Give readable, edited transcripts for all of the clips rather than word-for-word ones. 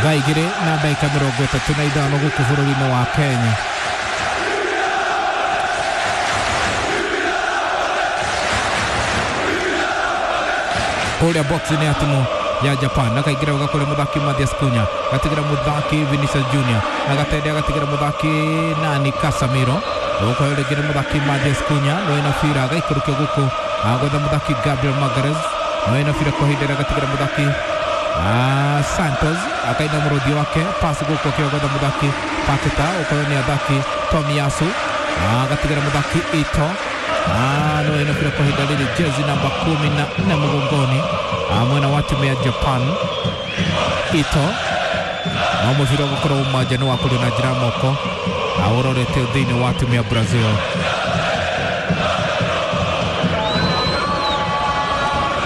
Thaa 2:35 gũkũ bũrũri-inĩ wa Kenya. Kũrĩa box-inĩ ya timu ya Japan na kaingĩra wega kũrĩ mũthaki Mathias Cunha, gatigĩra mũthaki Vinicius Junior, na gatende agatigĩra mũthaki nani Casemiro. Gũkũ rĩngĩ nĩ mũthaki Mathias Cunha no ena bira agaikũrũkia gũkũ agwetha mũthaki Gabriel Magalhaes no ena bira kwa ihinda agatigĩra mũthaki Santos akaina mũrũthi wake pasi gũkũ akĩogotha mũthaki Paqueta ũkorwo nĩ athaki Tomiyasu agatigĩra mũthaki Ito no ena bira kwa ihinda rĩrĩ jezi namba 14 mũgongoni mwena wa timu ya Japan Ito no mũbira ũgakorwo uma nja nĩ wa kũrĩ na njĩra moko ũrorete thĩinĩ wa timu ya Brazil.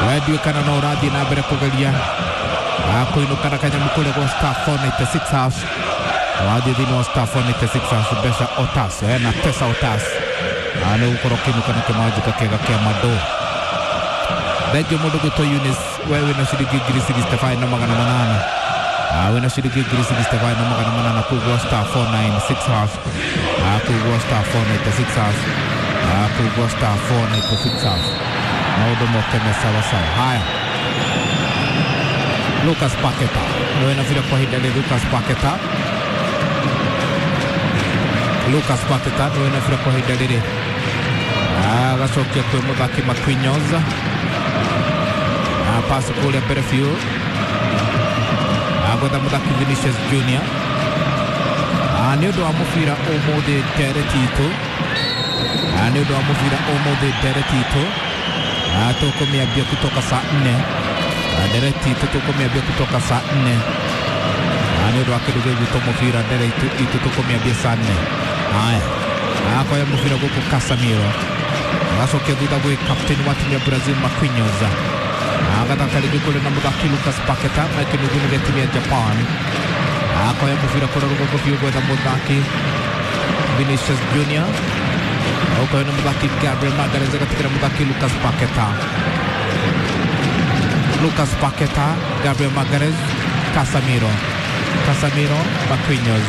Wendiũ kana no ũrathiĩ na mbere kũgeria kũinũka na kanyamũ kũrĩa gwa star 496 hash wathiĩ thĩinĩ wa star 496 hash mbeca otas na pesa otas nĩ gũkorwo ũkĩinũka na kĩmanjĩka kĩega kĩa mandũ. Thengio mũndũ gwĩtwo Eunice, we wĩna ciringi 65,800 wĩna ciringi 65,800 kũu gwa star 496 hash kũu gwa star 496 hash kũu gwa star 496 hash maũndũ moke me sawa sawa. Haya, Lucas Paqueta wena vile kwa ihinda rĩrĩ Lucas Paqueta, Lucas Paqueta wena vile kwa ihinda rĩrĩ agacokia kwĩ mũthaki Marquinhos pasi kũrĩa mbere biũ agwetha mũthaki Vinicius Junior. Nĩ ũndũ wa mũbira ũmũthĩ ndereti itũ, nĩ ũndũ wa mũbira ũmũthĩ ndereti itũ tũkũmĩambia kutoka saa 4 ndereti itũ tũkũmĩambia kutoka saa 4 nĩ ũndũ wa kĩndũ gĩgwĩtwo mũbira ndereti itũ tũkũmĩambia saa 4. Haya, akoya mũbira gũkũ Casemiro agacokia thutha gwĩ captain wa timu ya Brazil Marquinhos agathaka rĩngĩ kũrĩ na mũthaki Lucas Paqueta na kĩnuthu gĩa timu ya Japan. Akoya mũbira kũrĩa rũgongo biũ gwetha mũthaki Vinicius Junior ũkoyo nĩ mũthaki Gabriel Magalhaes agatigĩra mũthaki Lucas Paqueta, Lucas Paqueta, Gabriel Magalhaes, Casemiro, Casemiro, Marquinhos,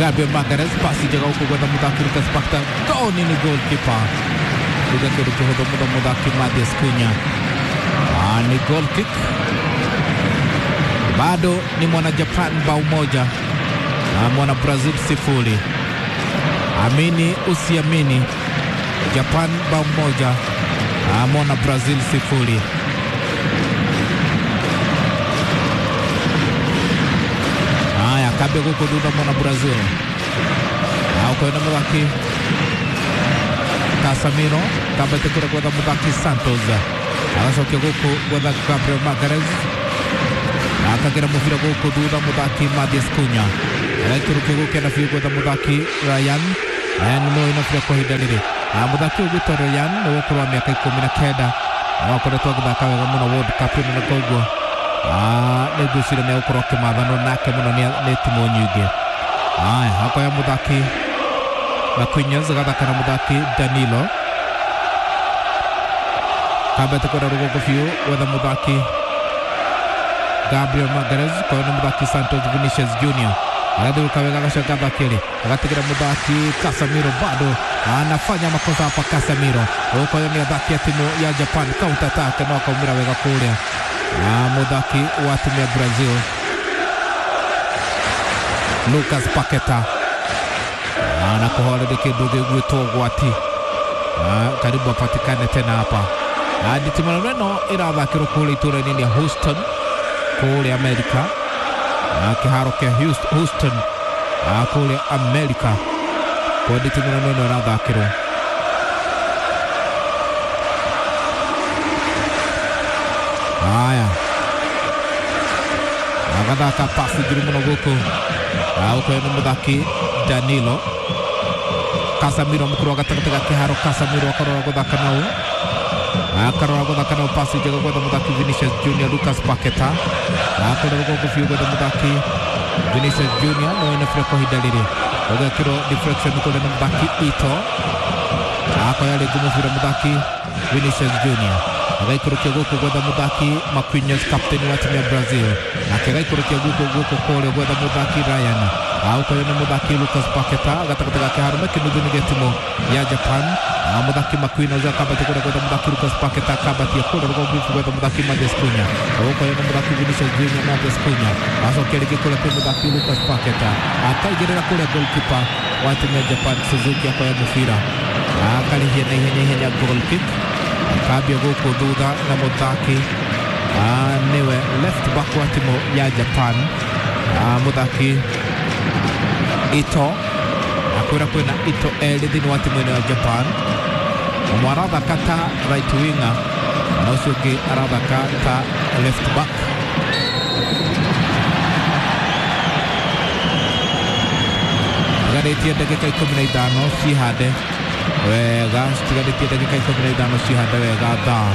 Gabriel Magalhaes pasi njega gũkũ gwetha mũthaki Lucas Paqueta, goni nĩ goalkeeper kuga kĩndũ kĩhũthũ mũno mũthaki Mathias Cunha. Ni goal kick, bado ni mwana Japan bao moja na mwana Brazil 0. Amini usiamini, Japan bao moja na mwana Brazil 0. Haya, kabia gũkũ thutha mwana Brazil ukoenda mũthaki Casemiro kambete kũrĩa gwetha mũthaki Santos agacokia gũkũ gwetha Gabriel Magalhaes akagera mũbira gũkũ thutha mũthaki Mathias Cunha agaikũrũkia gũkĩenda biũ gwetha mũthaki Ryan. Ryan no ĩna bira kwa ihinda rĩrĩ mũthaki ũyũ gwĩtwo Ryan nĩ wa ũkũrũ wa mĩaka 19 na akoretwo agĩthaka wega mũno World Cup ĩno na koguo nĩ ngwĩciria nĩ egũkorwo akĩmathanwo nake mũno nĩ timu nyingĩ. Haya, akoya mũthaki Marquinhos agathaka na mũthaki Danilo kambete kũrĩa rũgongo biũ gwetha mũthaki Gabriel Magalhaes kwa nĩ mũthaki Santos Vinicius Junior agathiũrũka wega agacoka athaki agatigĩra mũthaki Casemiro bado anafanya makosa hapa Casemiro ũkoyo nĩ athaki a timu ya Japan counter attack no akaumĩra wega kũrĩa mũthaki wa timu ya Brazil Lucas Paqueta anakuhoreria kĩndũ gĩgwĩtwo ũgwati karibu apatikane tena hapa. Nditimano ĩno ĩrathakĩrwo kũrĩa itũũra-inĩ rĩa Houston kũrĩa Amerika, kĩharo kĩa Houston kũrĩa Amerika kwa nditimano ĩno ĩrathakĩrwo. Haya, agathaka pasi njũru mũno gũkũ ũkoyo nĩ mũthaki Danilo Casemiro mũkũrũ wa gatagatĩ ga kĩharo. Casemiro akarora gũthaka nao, akarora gũthaka nao pasi njega gwetha mũthaki Vinicius Junior Lucas Paqueta akũrĩa rũgongo biũ gwetha mũthaki Vinicius Junior no ena bira kwa ihinda rĩrĩ ũgekĩrwo deflection kũrĩa nĩ mũthaki Ito akoya rĩngĩ mũbira mũthaki Vinicius Junior Agaikũrũkia gũkũ gwetha mũthaki Marquinhos, captain wa timu ya Brazil. Nake agaikũrũkia gũkũ gũkũ kũrĩa gwetha mũthaki Ryan. Aukoyo nĩ mũthaki Lucas Paqueta gatagatĩ gake harũme kĩnuthu-inĩ gĩa timu ya Japan. Mũthaki Marquinhos akambatia kũrĩa gwetha mũthaki Lucas Paqueta, akambatia kũrĩa rũgongo gwetha mũthaki Mathias Cunha. Aukoyo nĩ mũthaki Vinicius Junior, Mathias Cunha acokia rĩngĩ kũrĩa kwĩ mũthaki Lucas Paqueta, akaigĩrĩra kũrĩa goalkeeper wa timu ya Japan Suzuki akoya mũbira akarĩhia na ihenya ihenya goal kick, akambia gũkũ thutha na mũthaki nĩwe left back wa timu ya Japan, mũthaki Ito. Akwĩra kwĩna Ito erĩ thĩinĩ wa timu ĩno ya Japan, ũmwe arathaka ta right winger na ũcio ũngĩ arathaka ta left back. Tigarĩtie ndagĩka 15 cihande wega, citigarĩtie ndagĩka 15 cihande wega, thaa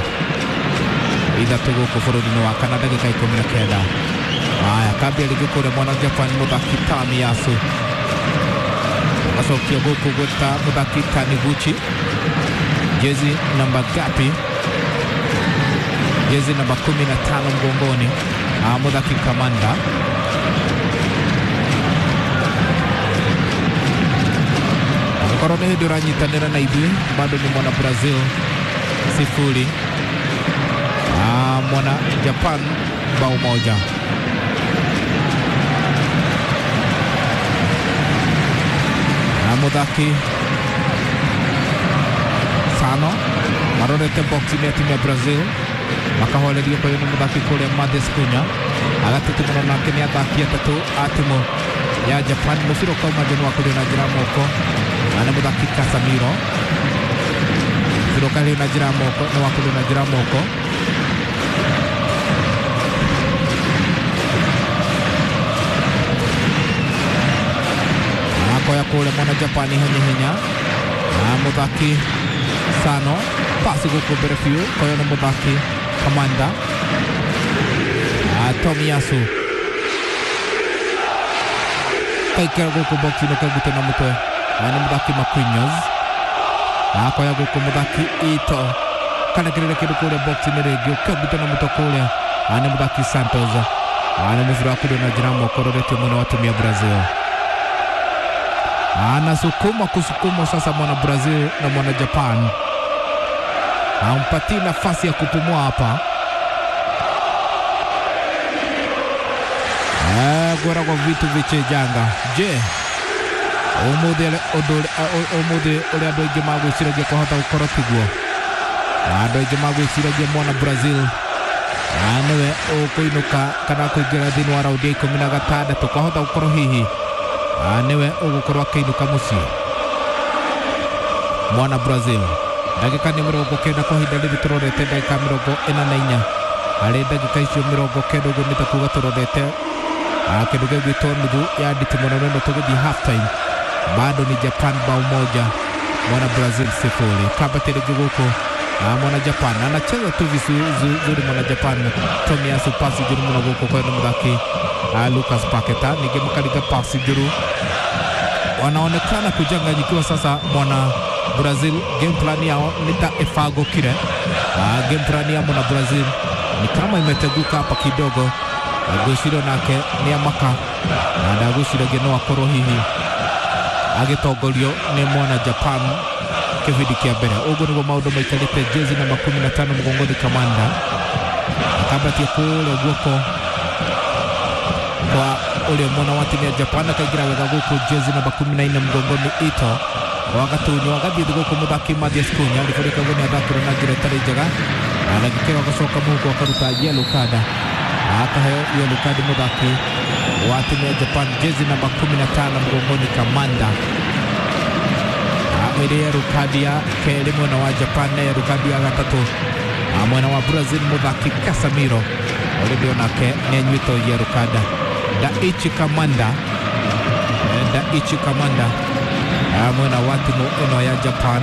3 gũkũ bũrũri-inĩ wa Kana, ndagĩka 19. Haya, kambia rĩngĩ kũrĩa mwana Japan mũthaki Tamiyasu agacokia gũkũ gwĩta mũthaki Taniguchi, jezi namba gapi? Jezi namba 15 mgongoni, mũthaki Kamanda. Angĩkorwo nĩ hĩndĩ ũranyitanĩra na ithuĩ, bado ni mwana Brazil 0, mwana Japan bao 1. Na mũthaki Sano marorete box-inĩ ya timu ya Brazil, makahorerio kwa nĩ mũthaki kũrĩa Mathias Cunha, agatitimũra nake nĩ athaki atatũ a timu ya Japan. Mũbira ũkauma nja nĩ wakũrio na njĩra ya moko na nĩ mũthaki Casemiro. Mũbira ũkarĩo na njĩra ya moko nĩ wakũrio na njĩra ya moko. Akoya kũrĩa mwana Japan ihenya ihenya na mũthaki Sano, pasi gũkũ mbere biũ koyo nĩ mũthaki Kamanda. Tomiyasu kaikera gũkũ box-inĩ kagute na mũtwe na nĩ mũthaki Marquinhos. Akoya gũkũ mũthaki Ito karekereria kĩndũ kũrĩa box-inĩ rĩngĩ ũkĩongute na mũtwe kũrĩa na nĩ mũthaki Santos. Nĩ mũbira wa kũrĩa na njĩra ya moko ũroretio mwena wa timu ya Brazil. Anasukuma kusukuma sasa mwana Brazil na mwana Japan, hampatii nafasi ya kupumua hapa. Gwera kwa vitu vichejanga. Je, umuthi ũrĩa andũ aingĩ magwĩciragia kwahota gũkorwo tiguo? Andũ aingĩ magwĩciragia mwana Brazil nĩwe ũkũinũka kana kũingĩra thĩinĩ wa raundi ya 16, kwahota gũkorwo hihi nĩwe ũgũkorwo akĩinũka mũciĩ mwana Brazil. Ndagĩka nĩ 90 kwa ihinda rĩrĩ tũrorete ndagĩka 44, harĩ ndagĩka icio 90 ũguo nĩ ta kuga tũrorete kĩndũ gĩgwĩtwo nuthu ya nditimũrano ĩno tũgĩthiĩ half time. Bado ni Japan bao 1, mwana Brazil 0. Kambate rĩngĩ gũkũ mwana Japan anacheza tu vizuri mwana Japan. Tomiyasu pasi njũru mũno gũkũ kwa mũthaki Lucas Paqueta, ningĩ makariga pasi njũru, wanaonekana kuchanganyikiwa sasa mwana Brazil. Game plan yao ni ta ĩbangũkire. Game plan ya mwana Brazil ni kama imeteguka hapa kidogo. Ngwĩciria nake nĩ amaka na ndagwĩciragia no akorwo hihi agĩtongorio nĩ mwana Japan kĩbindi kĩa mbere. Ũguo nĩguo maũndũ maikarĩte. Jezi namba 15 mgongoni Kamanda akambatia kũrĩa guoko kwa ũrĩa mwena wa timu ya Japan, akaingĩra wega gũkũ jezi namba 14 mgongoni Ito, wagatunywo agathiĩ gũkũ mũthaki Mathias Cunha, ribũrĩka ũguo nĩ athakĩrwo na njĩra ĩtarĩ njega, na ndagĩka ĩyo agacoka mũhuko akaruta yellow card, akaheo yellow card mũthaki wa timu ya Japan jezi namba 15 mgongoni Kamanda. Ĩrĩ yellow card ya kerĩ mwena wa Japan na yellow card ya gatatũ mwena wa Brazil mũthaki Casemiro ũrĩa onake nĩ anyuĩtwo yellow card. Daichi Kamanda, Daichi Kamanda mwena wa timu ĩno ya Japan.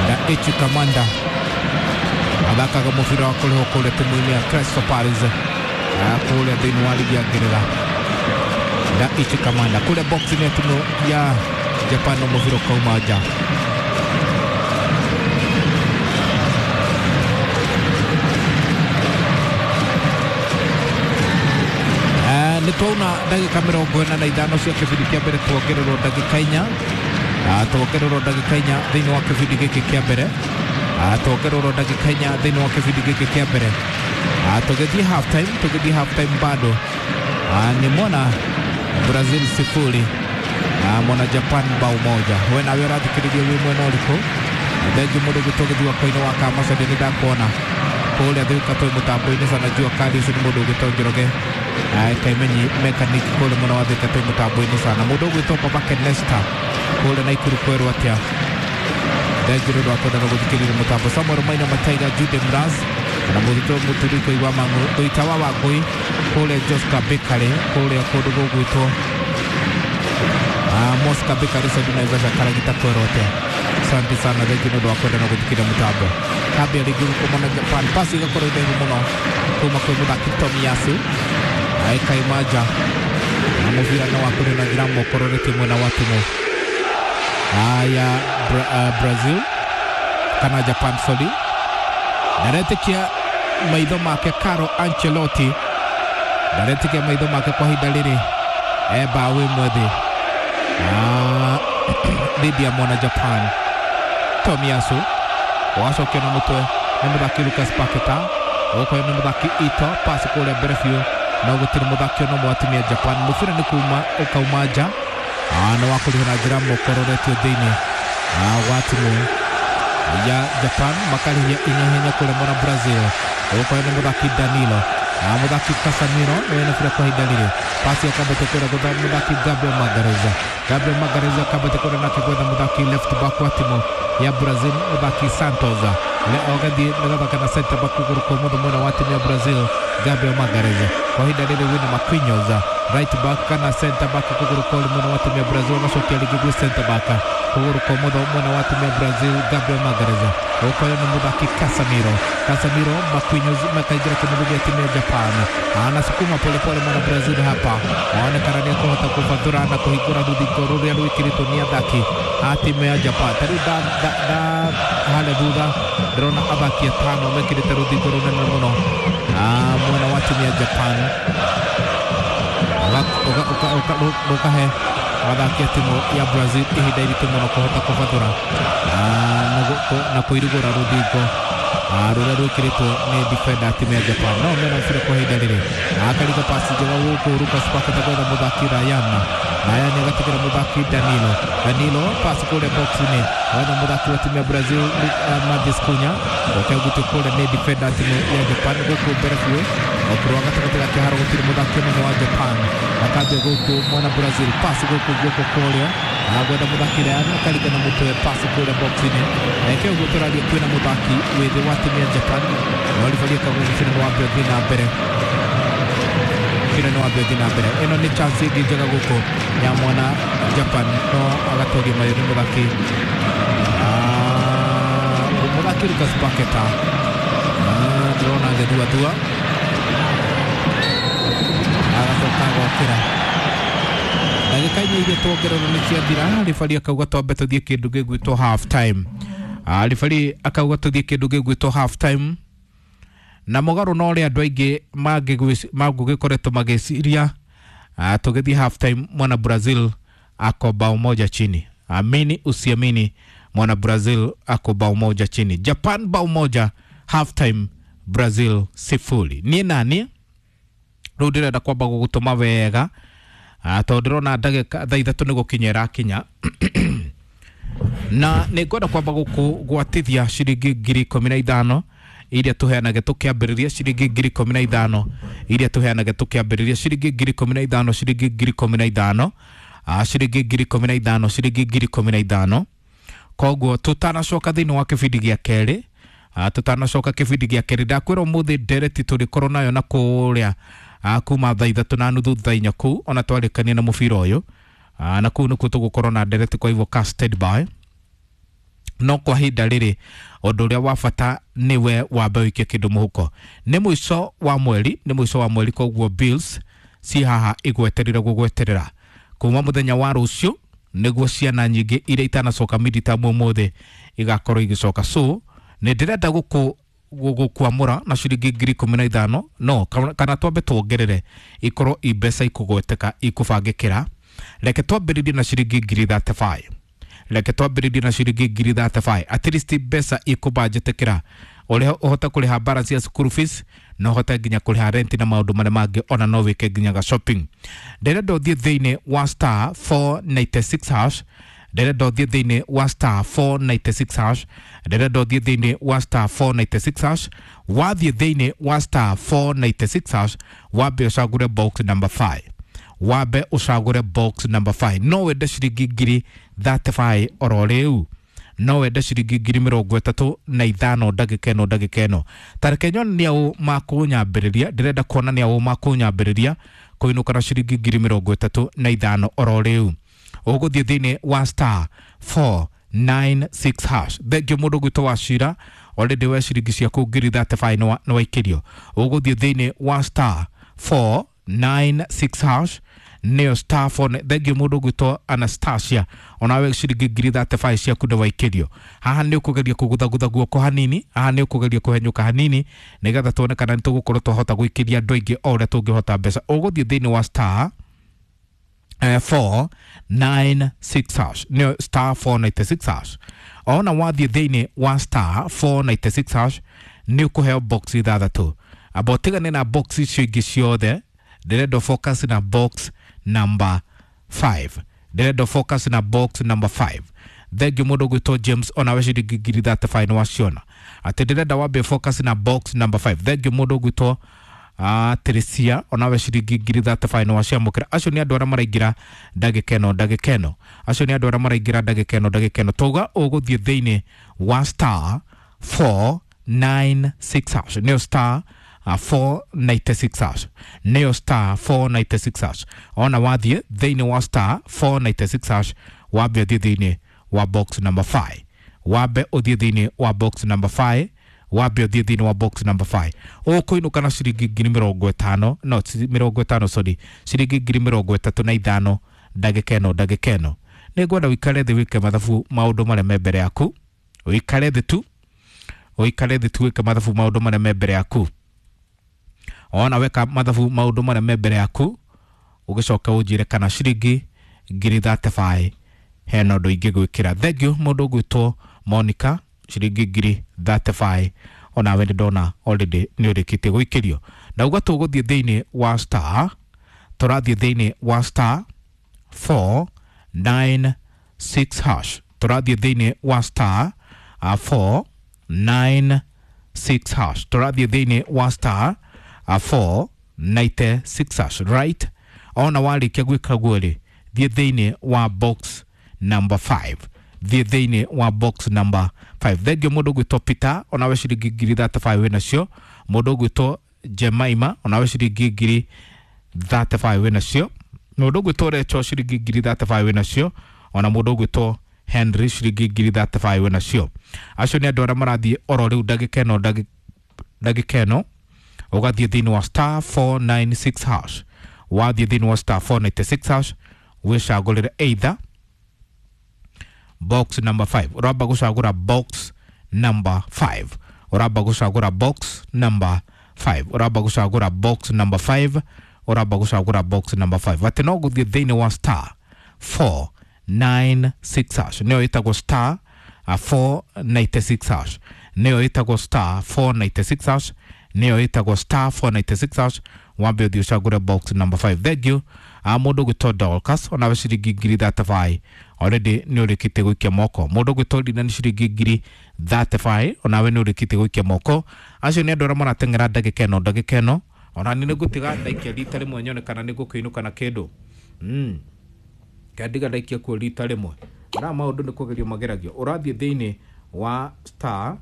Daichi Kamanda athakaga mũbira wa kũrĩhwo kũrĩa timu-inĩ ya Crystal Palace kũrĩa thĩinĩ wa ligi ya Ngeretha. Daichi Kamanda kule box-inĩ ya timu ya Japan no mũbira ũkauma nja. Nĩ twauna ndagĩka 45 cia kĩbindi kĩa mbere, tuongererwo ndagĩka 4, tuongererwo ndagĩka 4 thĩinĩ wa kĩbindi gĩkĩ kĩa mbere, tuongererwo ndagĩka 4 thĩinĩ wa kĩbindi gĩkĩ kĩa mbere. Tũgĩthiĩ half time, tũgĩthiĩ half time bado ni mwana Brazil 0, mwana Japan bao 1. We nawe ũrathikĩrĩria wĩ mwena ũrĩkũ? Thengiũ mũndũ ũgĩtwo gĩthua koinĩ wa Kamaca, nĩ ndakuona kũrĩa Thika twĩ mũtambo-inĩ sana jua kali ũcio nĩ mũndũ ũgĩtwo Njoroge Kaimenyi mechanic kũrĩa mwena wa Thika twĩ mũtambo-inĩ sana. Mũndũ ũgwĩtwo Baba Kenesta kũrĩa Naikuru kwerwo atĩa? Thengiũ nĩ ũndũ wa kwenda na gũthikĩrĩria mũtambo. Samuel Maina Mataiga, Jude Mraz na mũthito mũturi kũigua mang'u Thuita wa Wangũi kũrĩa Joska Bakery kũrĩa kũndũ gũgwĩtwo Mosca Bakery Sadi Naivasha Karagita kwerwo atĩa? Asante sana, thengiũ nĩ ũndũ wa kwenda na gũthikĩrĩria mũtambo. Kambia rĩngĩ gũkũ na Japan, pasi ĩgakorwo ndaihu mũno kuma kwĩ mũthaki Tomiyasu aikaima nja na mũbira no wakũrĩ na njĩra mũkororetie mwena wa timu ya Brazil kana Japan sorry. Ndaretĩkia maitho make Carlo Ancelotti, ndaretĩkia maitho make kwa ihinda rĩrĩ e bao ĩmwe thĩ dhidi ya mwana Japan. Tomiyasu wacokio na mũtwe nĩ mũthaki Lucas Paqueta, ũkoyo nĩ mũthaki Ito, pasi kũrĩa mbere biũ no gũtirĩ mũthaki ona ũmwe wa timu ya Japan. Mũbira nĩ kuma ũkauma nja nĩ wa kũrĩha na njĩra mũkororetio thĩinĩ wa timu ya Japan, makarĩhia inya kũrĩa mwana Brazil. Ũkoyo nĩ mũthaki Danilo, mũthaki Casemiro nĩwe na bira kwa ihinda rĩrĩ, pasi akambate kũrĩa gwetha mũthaki Gabriel Magalhaes, Gabriel Magalhaes akambate kũrĩa nake gwetha mũthaki left back wa timu ya Brazil mũthaki Santos, ũgathiĩ nĩgathaka na center back kũgũrũ kwa ũmotho mwena wa timu ya Brazil Gabriel Magalhaes. Kwa ihinda rĩrĩ wĩna Marquinhos right back kana center back kũgũrũ kwa mwena wa timu ya Brazil, agacokia rĩngĩ gwĩ center back kũgũrũ kwa ũmotho mwena wa timu ya Brazil Gabriel Magalhaes. Ũkoyo nĩ mũthaki Casemiro, Casemiro Marquinhos makaingĩra kĩmũthĩ gĩa timu ya Japan, anasukuma polepole mwana Brazil hapa, aonekana nĩ ekũhota kũbathũra na kũhingũra rũthingo rũrĩa rwĩkĩrĩtwo nĩ athaki a timu ya Japan. Ta rĩu harĩa thutha ndĩrona athaki atano mekĩrĩte rũthingo rũnene mũno mwena wa timu ya Japan, rũkahe athaki a timu ya Brazil ihinda iritũ mũno kũhota kũbathũra na kũirigũra rũthingo rũrĩa rwĩkĩrĩtwo nĩ defender a timu ya Japan. No mena mũbira kwa ihinda rĩrĩ, akariga pasi njega gũkũ Lucas Paqueta gwetha mũthaki Ryan, Ryan agatigĩra mũthaki Danilo, Danilo pasi kũrĩa box-inĩ gwetha mũthaki wa timu ya Brazil Matheus Cunha, ũkegutio kũrĩa nĩ defender a timu ya Japan gũkũ mbere biũ ũkũrũ wa gatagatĩ ga kĩharo gũtirĩ mũthaki ũmwe wa Japan, akambia gũkũ mwana Brazil pasi gũkũ guoko kũrĩa agwetha mũthaki Ryan akariga na mũtwe pasi kũrĩa box-inĩ. Reke ũguo tũraria kwĩna mũthaki wĩ thĩ wa timu ya Japan no ribari akauga mũbira nĩ wambe ũthiĩ na mbere, mũbira nĩ wambe ũthiĩ na mbere. Ĩno nĩ chance ĩngĩ njega gũkũ ya mwana Japan no agatoria mayo nĩ mũthaki mũthaki Lucas Paqueta, ndĩrona agĩthuathua agacoka agokĩra. Ndagĩka 4 iria tuongererwo nĩ ciathira, ribari akauga twambe tũthiĩ kĩndũ gĩgwĩtwo half time. Ribari akauga tũthiĩ kĩndũ gĩgwĩtwo half time, na mũgarũ na ũrĩa andũ aingĩ mangĩgĩkoretwo magĩciria tũgĩthiĩ half time mwana Brazil ako bao 1 chini. Amini usiamini, mwana Brazil ako bao 1 chini, Japan bao 1, half time Brazil 0. Niĩ nani rĩu ndĩrenda kwamba gũgũtũma wega tondũ ndĩrona ndagĩka thaa 3 nĩ gũkinya ĩrakinya na nĩ ngwenda kwamba gũkũgwatithia ciringi 15,000 iria tũheanage tũkĩambĩrĩria, ciringi 15,000 iria tũheanage tũkĩambĩrĩria, ciringi 15,000, ciringi 15,000, ciringi 15,000, ciringi 15,000. Koguo tũtanacoka thĩinĩ wa kĩbindi gĩa kerĩ, tũtanacoka kĩbindi gĩa kerĩ ndakwĩra ũmũthĩ ndereti tũrĩkorwo nayo na kũrĩa kuma thaa 3:30 thaa 4 kũu ona twarĩkania na mũbira ũyũ, na kũu nĩkuo tũgũkorwo na ndereti, kwa hivyo ka stand by. No kwa ihinda rĩrĩ ũndũ ũrĩa wa bata nĩwe wambe ũikie kĩndũ mũhuko. Nĩ mũico wa mweri, nĩ mũico wa mweri, koguo bills ci haha igweterera gugweterera kuma muthenya wa rucio niguo ciana nyingĩ iria itanacoka midterm ũmũthĩ igakorwo igicoka. So nĩ ndĩrenda gũkwamũra na ciringi 15,000 no kana twambe tuongerere ikorwo i mbeca ikũgweteka ikũbangĩkĩra. Reke twambĩrĩrie na ciringi 35,000, reke twambĩrĩrie na ciringi 35,000, at least mbeca ikũbanjĩtĩkĩra ũrĩa ũhote kũrĩha balance ya school fees na ũhote nginya kũrĩha rent na maũndũ marĩa mangĩ, ona no wĩke nginya ga shopping. Ndĩrenda ũthiĩ thĩinĩ wa star 496 hash, ndĩrenda ũthiĩ thĩinĩ wa star 496 hash, ndĩrenda ũthiĩ thĩinĩ wa star 496 hash. Wathiĩ thĩinĩ wa star 496 hash, wambe ũcagũre box number 5, wambe ũcagũre box number 5. No wende ciringi 35,000 oro rĩu, no wende ciringi 35,000 ndagĩka ĩno, ndagĩka ĩno. Tareke nyone nĩ aũ makũnyambĩrĩria, ndĩrenda kuona nĩ aũ makũnyambĩrĩria kũinũka na ciringi 35,000 oro rĩu. Ũgũthiĩ thĩinĩ wa star 496 hash. Thengio mũndũ gwitũ wa cira, already we ciringi ciaku 35,000 nĩ waikĩrio. Ũgũthiĩ thĩinĩ wa star 496 hash, nĩyo star 4. Thengio mũndũ gwitũ Anastasia, onawe ciringi 35,000 ciaku nĩ waikĩrio. Haha nĩ ũkũgeria kũguthagutha guoko hanini, haha nĩ ũkũgeria kũhenyũka hanini nĩgetha tuone kana nĩ tũgũkorwo twahota gũikĩria andũ aingĩ o ũrĩa tũngĩhota mbeca. Ũgũthiĩ thĩinĩ wa star 496 hash, nĩyo star 496 hash. Ona wathiĩ thĩinĩ wa star 496 hash nĩ ũkũheo box ithathatũ. Amba ũtigane na box icio ingĩ ciothe, ndĩrenda focus na box number 5, ndĩrenda focus na box number 5. Thengio mũndũ gwĩtwo James, onawe ciringi 35,000 nĩ waciona. Atĩ ndĩrenda wambe focus na box number 5. Thengio mũndũ gwĩtwo Teresia, onawe ciringi 35,000 nĩ waciamũkĩra. Acio nĩ andũ arĩa maraingĩra ndagĩka ĩno, ndagĩka ĩno. Acio nĩ andũ arĩa maraingĩra ndagĩka ĩno, ndagĩka ĩno. Twauga ũgũthiĩ thĩinĩ wa star 496 hash, nĩyo star 496 hash, nĩyo star 496 hash. Ona wathiĩ thĩinĩ wa star 496 hash, wambe ũthiĩ thĩinĩ wa box number 5, wambe ũthiĩ thĩinĩ wa box number 5, wambe ũthiĩ thĩinĩ wa box number 5. Ũkũinũka na ciringi 50,000, no 50, sorry, ciringi 35,000 ndagĩka ĩno, ndagĩka ĩno. Nĩ ngwenda ũikare thĩ wĩke mathabu maũndũ marĩa me mbere yaku, ũikare thĩ tu, ũikare thĩ tu wĩke mathabu maũndũ marĩa me mbere yaku. Ona weka mathabu maũndũ marĩa me mbere yaku, ũgĩcoka ũnjĩre kana ciringi 35,000 hena ũndũ ingĩgwĩkĩra. Thengio mũndũ ũgwĩtwo Monica, ciringi 35,000 onawe nĩ ndona already nĩ ũrĩkĩtie gũikĩrio. Ndauga tũgũthiĩ thĩinĩ wa star, tũrathiĩ thĩinĩ wa star 496 hash, tũrathiĩ thĩinĩ wa star 496 hash, tũrathiĩ thĩinĩ wa star 496 hash, right? Ona warĩkia gwĩka guo rĩ, thiĩ thĩinĩ wa box number 5, thiĩ thĩinĩ wa box number 5. Thengio mũndũ ũgwĩtwo Peter, onawe ciringi 35,000 wĩ nacio. Mũndũ ũgwĩtwo Jemaima, onawe ciringi 35,000 wĩ nacio. Mũndũ ũgwĩtwo Rachel, ciringi 35,000 wĩ nacio. Ona mũndũ ũgwĩtwo Henry, ciringi 35,000 wĩ nacio. Acio nĩ andũ arĩa marathiĩ oro rĩu ndagĩka ĩno, ndagĩka ĩno. Ũgathiĩ thĩinĩ wa star 496 hash, wathiĩ thĩinĩ wa star 496 hash, wĩcagũrĩre either box number 5. Ũramba gũcagũra box number 5, ũramba gũcagũra box number 5, ũramba gũcagũra box number 5, ũramba gũcagũra box number 5. Atĩ no gũthiĩ thĩinĩ wa star 496 hash, nĩyo ĩtagwo star 496 hash, nĩyo ĩtagwo star 496 hash, nĩyo ĩtagwo star 496 hash. Wambe ũthiĩ ũcagũre box number 5. Thank you. Mũndũ ũgwĩtwo Dorcas, onawe ciringi 35,000 already nĩ ũrĩkĩtie gũikia moko. Mũndũ ũgwĩtwo Lina nĩ ciringi 35,000 onawe nĩ ũrĩkĩtie gũikia moko. Acio nĩ andũ arĩa marateng'era ndagĩka ĩno, ndagĩka ĩno. Ona nĩ ngũtiga ndaikia rita rĩmwe nyone kana nĩ ngũkĩinũka na kĩndũ. Kandiga ndaikia kuo rita rĩmwe. Ara maũndũ nĩ kũgerio mageragio. Ũrathiĩ thĩinĩ wa star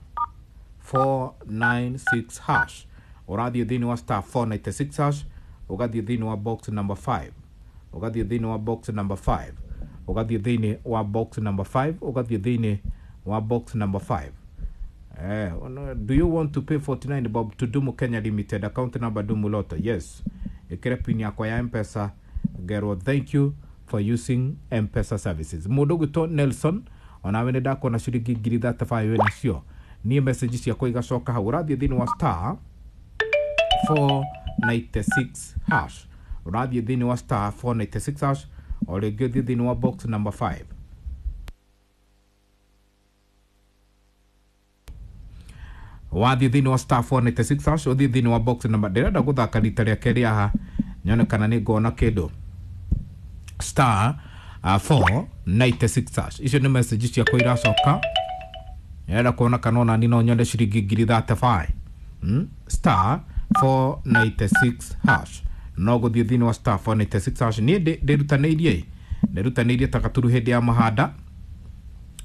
496 hash, ũrathiĩ thĩinĩ wa star 496 hash, ũgathiĩ thĩinĩ wa box number 5, ũgathiĩ thĩinĩ wa box number 5, ũgathiĩ thĩinĩ wa box number 5, ũgathiĩ thĩinĩ wa box number 5. Do you want to pay 49 bob to Dumu Kenya Limited, account number Dumu Lotto? Yes. Ĩkĩre pin yakwa ya Mpesa, ngerwo thank you for using Mpesa services. Mũndũ ũgwĩtwo Nelson, onawe nĩ ndakuona ciringi 35,000 wĩnacio. Niĩ message ciakwa igacoka hau. Ũrathiĩ thĩinĩ wa star 496 hash, ũrathiĩ thĩinĩ wa star 496 hash, o rĩngĩ ũthiĩ thĩinĩ wa box number 5. Wathiĩ thĩinĩ wa star 496 hash, ũthiĩ thĩinĩ wa box number, ndĩrenda gũthaka rita rĩa kerĩ haha nyone kana nĩ ngona kĩndũ. Star 496 hash, icio nĩ message ciakwa iracoka. Ndĩrenda kuona kana ona ni no nyone ciringi 35,000. Star 496 hash, no gũthiĩ thĩinĩ wa star 496 hash. Niĩ ndĩrutanĩirie, ndĩrutanĩirie ta gaturu hĩndĩ ya mahanda,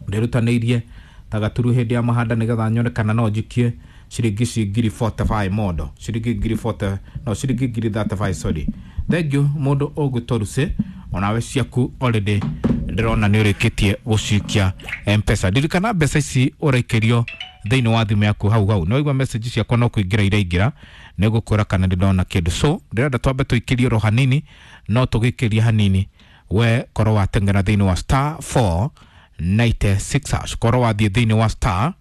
ndĩrutanĩirie ta gaturu hĩndĩ ya mahanda nĩgetha nyone kana no njikie ciringi ici 45,000 mondo, ciringi 40,000, no ciringi 35,000, sorry. Thank you mũndũ ũgwĩtwo Lucy, onawe ciaku already ndĩrona nĩ ũrĩkĩtie gũcikia Mpesa. Ndirikana mbeca ici ũraikĩrio thĩinĩ wa thimũ yaku hau hau. Nĩ waigua message ciakwa no kũingĩra iraingĩra, nĩ gũkwĩra kana nĩ ndona kĩndũ. So ndĩrenda twambe tũikĩrie oro hanini, no tũgĩikĩrie hanini, we korwo wateng'era thĩinĩ wa star 496 hash, korwo wathiĩ thĩinĩ wa star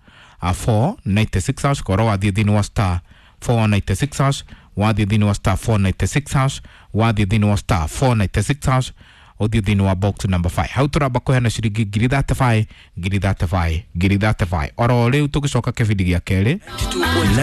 496 hash, korwo wathiĩ thĩinĩ wa star 496 hash, wathiĩ thĩinĩ wa star 496 hash, wathiĩ thĩinĩ wa star 496 hash, ũthiĩ thĩinĩ wa box number 5. Hau tũramba kũheana ciringi 35,000, 35,000, 35,000 oro rĩu, tũgĩcoka kĩbindi gĩa kerĩ. 92.9.